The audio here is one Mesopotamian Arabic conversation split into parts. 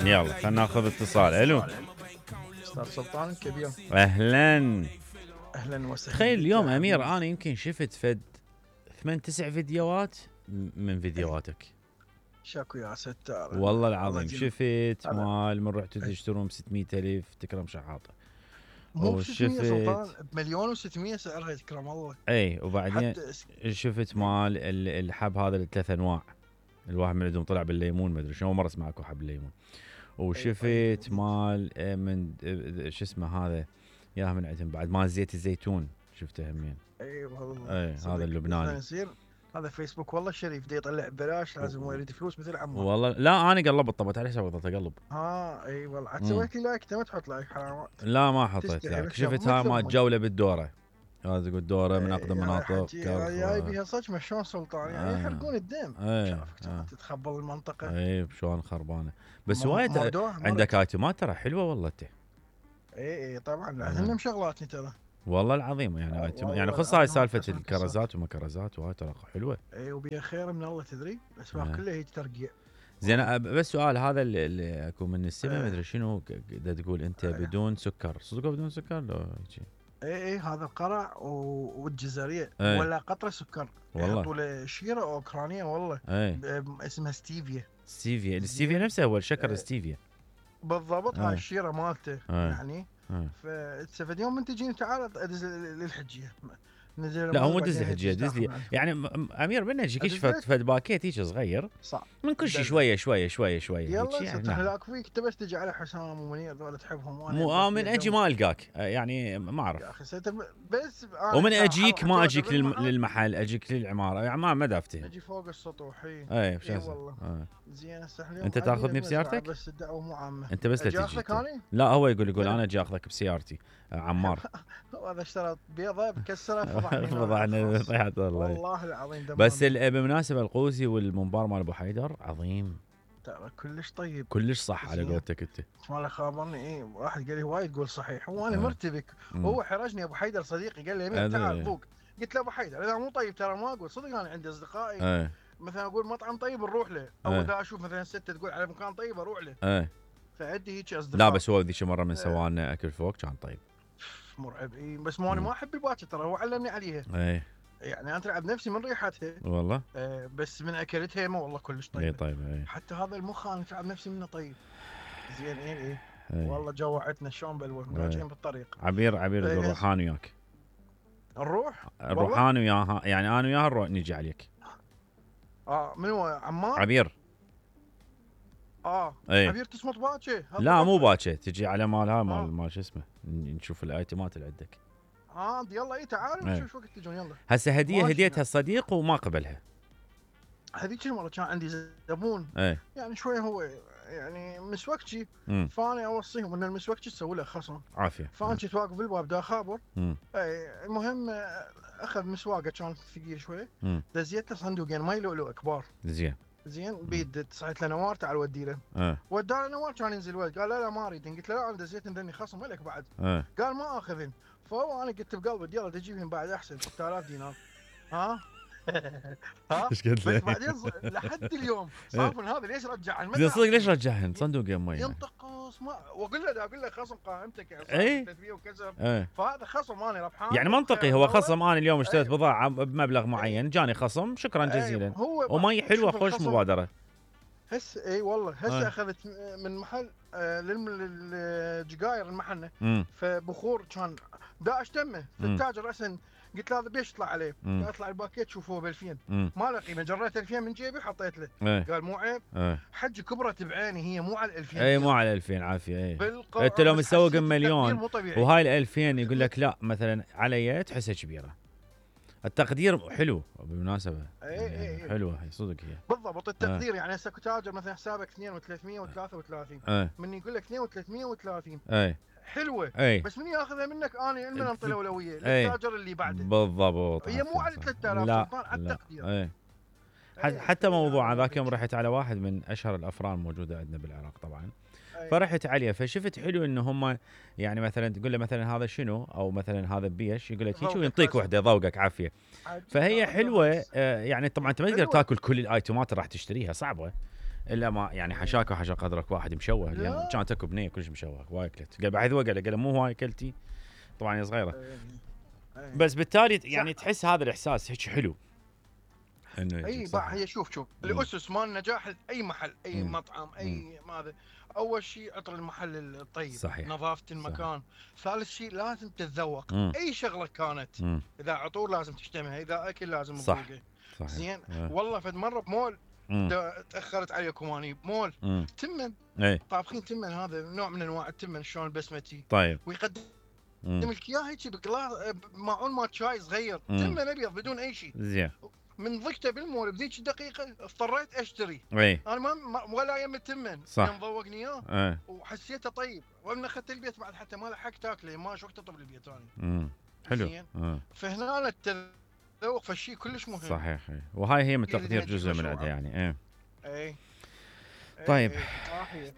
يلا خلينا ناخذ اتصال. الو استاذ سلطان الكبير، اهلا. اهلا وسهلا. تخيل اليوم امير انا يمكن شفت فد 8-9 فيديوهات من فيديوهاتك. شاكو يا ستار والله العظيم شفت مال من رحتوا تشترون ب 600,000 تكرم شحاطه. مو ب 600 سلطان، بمليون و600 سعرها تكرم الله. اي وبعدين شفت مال الحب هذا الثلاث انواع، الواحد من عندهم طلع بالليمون، ما ادري شنو، مره اسمع اكو حب الليمون. وشفت مال من شو اسمه هذا ياها من عندهم بعد مال زيت الزيتون شفته همين. اي والله. اي هذا اللبناني. هذا فيسبوك والله شريف دي يطلع ببلاش، لازم هو يريد فلوس مثل عمار. والله لا انا قلبت طبت عليه حساب ضلت اقلب. اي والله عاد سويت لي لايك، انت ما تحط لايك حرام. لا ما حطيت لايك. شفت هاي مال جوله بالدوره، هذا تقول دوره من اقدم مناطق جاي بيها صدق شلون سلطان يعني يحرقون الدم. شافك تتخبل المنطقه. اي شلون خربانه بس وايد عندك ايتمات ترى حلوه والله انت. اي طبعا لازم شغلاتني ترى والله العظيم يعني يعني خص هاي سالفه الكرزات وما كرزات وهاي ترى حلوه. اي وبيها خير من الله تدري، الاسواق كلها هي ترقيع. زين بس سؤال، هذا اللي اكو من السماء ما ادري شنو تقول انت بدون سكر، صدق بدون سكر لو هيك؟ اي هذا القرع والجزريه ولا قطره سكر يحطوا له شيره اوكرانيه والله اسمها ستيفيا. الستيفيا نفسه هو الشكر الستيفيا بالضبط. هاي الشيره مالته يعني. فاستفاد يوم من تجيني تعال ادز للحجيه. لا هو مو دز الحجيه، دز لي يعني امير من يجيك فد باكيت هيك صغير صح من كل شيء شويه شويه شويه شويه. يلا يعني لاك فيك انت بس تجي على حسام ومنير ذول تحبهم، وانا مو من اجي ما القاك يعني ما اعرف يا اخي بس ومن اجيك ما اجيك للمحل، اجيك للعماره يعني ما دافتهم، اجي فوق السطوح. اي والله زين انت تاخذني بسيارتك بس الدعوه مو عامه. انت بس لا تجي. لا هو يقول انا اجي اخذك بسيارتي عمار. هذا اشترى بيضه بكسره فضحنا طيحت والله العظيم. بس بالمناسبه القوسي والمنبار مال ابو حيدر عظيم ترى كلش طيب كلش صح على قولتك انت. ما خابرني واحد قال لي وايد تقول صحيح وانا مرتبك. هو حرجني ابو حيدر صديقي قال لي يمين تعال ذوق. قلت له ابو حيدر اذا مو طيب ترى ما اقول صدق. انا عندي اصدقائي مثلا اقول مطعم طيب نروح له، او اذا اشوف مثلا ستة تقول على مكان طيب اروح له. فعندي هيك اصدقاء. لا بس هو ذيك مره من سوانا اكل فوق كان طيب مرعب. بس مو انا ما احب الباكر ترى، هو علمني عليها. يعني انا اترعب نفسي من ريحتها والله. بس من اكلتها ما والله كلش طيب. طيب حتى هذا المخ انا اترعب نفسي منه طيب. زين والله جوعتنا شلون بلوه راجعين بالطريق. عبير الروحان وياك. الروح انا وياها يعني انا وياها نروح نجي عليك. من هو عمار؟ عبير. عبير تصمت باكي؟ لا مو باكي، تجي على مال هاي مال شو اسمه، نشوف الايتمات اللي عندك. يلا تعالوا نشوف وقت تجون. يلا هسه هديتها الصديق وما قبلها. هذيك المره كان عندي زبون يعني شويه هو يعني مسوكتي، فانا اوصيهم ان المسوكتي تسوي له خصم عافيه. فانا كنت واقف بالباب دا خابر. المهم اخذ مسواقه كان ثقيل شويه، دزيت له صندوقين ماي لؤلؤ كبار. زين بيد صحيت له نوار تعال ودي له. ودى له نوار كان ينزل ولد قال لا ما اريد. قلت له لا انا دزيت ذني خصم لك بعد. قال ما اخذن. فهو انا قلت بقلبي يلا تجيبهم بعد احسن 6000 دينار. ايش قلت له؟ بس بعدين لحد اليوم صافن هذا ليش رجعهن؟ صدق ليش رجعهن صندوق يمي؟ ينطق واقول له خصم قائمتك يعني 300 وكسر. فهذا خصم انا ربحان يعني منطقي. هو خصم انا اليوم اشتريت بضاعه بمبلغ معين جاني خصم شكرا جزيلا. ومي حلوه خوش مبادره. والله هسه اخذت من محل للجقاير المحنه. فبخور كان دا اشتمه التاجر راسا. قلت له هذا بيش يطلع عليه؟ قال اطلع الباكيت شوفوه ب 2000. ما له قيمه. جريت 2000 من جيبي حطيت له. قال مو عيب. حج كبرت بعيني هي مو على 2000. مو على 2000 عافيه. انت لو مسوق بمليون وهاي ال 2000 يقول لك لا مثلا علي تحسها كبيره. التقدير حلو بالمناسبه. حلوه هي صدق هي بالضبط التقدير. يعني هسه تاجر مثلا حسابك 2 و333 من يقول لك 2 و330 حلوه. بس من ياخذها منك انا من انطي الاولويه للتاجر اللي بعده. بالضبط. هي مو على 3000 سلطان على التقدير. حتى موضوع ذاك يوم رحت على واحد من اشهر الافران موجوده عندنا بالعراق طبعا. فرحت عليه فشفت حلو ان هم يعني مثلا تقول له مثلا هذا شنو او مثلا هذا بيش يقول لك هيك وينطيك وحده ذوقك عافيه. فهي حلوه يعني طبعا انت ما تقدر تاكل كل الايتمات اللي راح تشتريها صعبه. الا ما يعني حشاك وحشا قدرك واحد مشوه يعني كانت اكو بنيه كلش مشوه هواي اكلت قال بعد هو قال مو هواي اكلتي طبعا هي صغيره بس بالتالي يعني صح. تحس هذا الاحساس هيك حلو انه اي هي شوف الاسس مال نجاح اي محل اي مطعم اي ماذا اول شيء عطر المحل الطيب صحيح. نظافه المكان صحيح. ثالث شيء لازم تتذوق اي شغله كانت اذا عطور لازم تشتمها اذا اكل لازم تذوقه زين والله فد مره بمول تاخرت عليكم اني بمول تمن طابخين تمن هذا نوع من انواع التمن شلون البسمتي طيب ويقدم لك اياه هيك بقلاص معون مال شاي صغير تمن ابيض بدون اي شيء زين من ضقته بالمول بذيك الدقيقه اضطريت اشتري انا ما ولا يم التمن يوم ذوقني اياه وحسيته طيب ومن اخذت البيت بعد حتى ما لحقت تاكله ما شو وقت اطلب البيت ثاني حلو فهنا التذوق فالشيء كلش مهم صحيح وهاي هي من تقدير جزء من عندها يعني طيب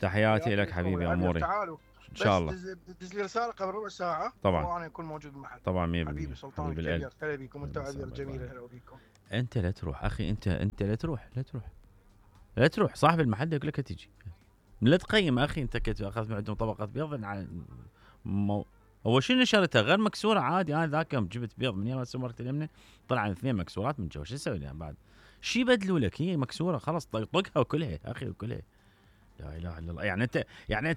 تحياتي لك حبيبي اموري تعالوا ان شاء الله دز لي رساله قبل ربع ساعه طبعا وانا اكون موجود بالمحل طبعا 100% حبيبي سلطان الكبير هلا بيكم انت عبير جميله هلا بيكم انت لا تروح اخي انت لا تروح صاحب المحل يقول لك تجي لا تقيم اخي انت اخذت من عندهم طبقه بيض هو شنو نشرتها غير مكسوره عادي انا ذاك يوم جبت بيض من يوم سمرت اليمنى طلع 2 مكسورات من جوا شو اسوي لها بعد شي بدلوا لك هي مكسوره خلاص طقها وكلها اخي وكلها لا اله الا الله يعني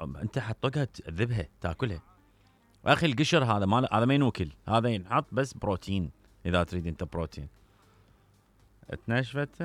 انت حطقها تذبها تاكلها اخي القشر هذا ما ينوكل هذا ينحط بس بروتين اذا تريد انت بروتين تنشفت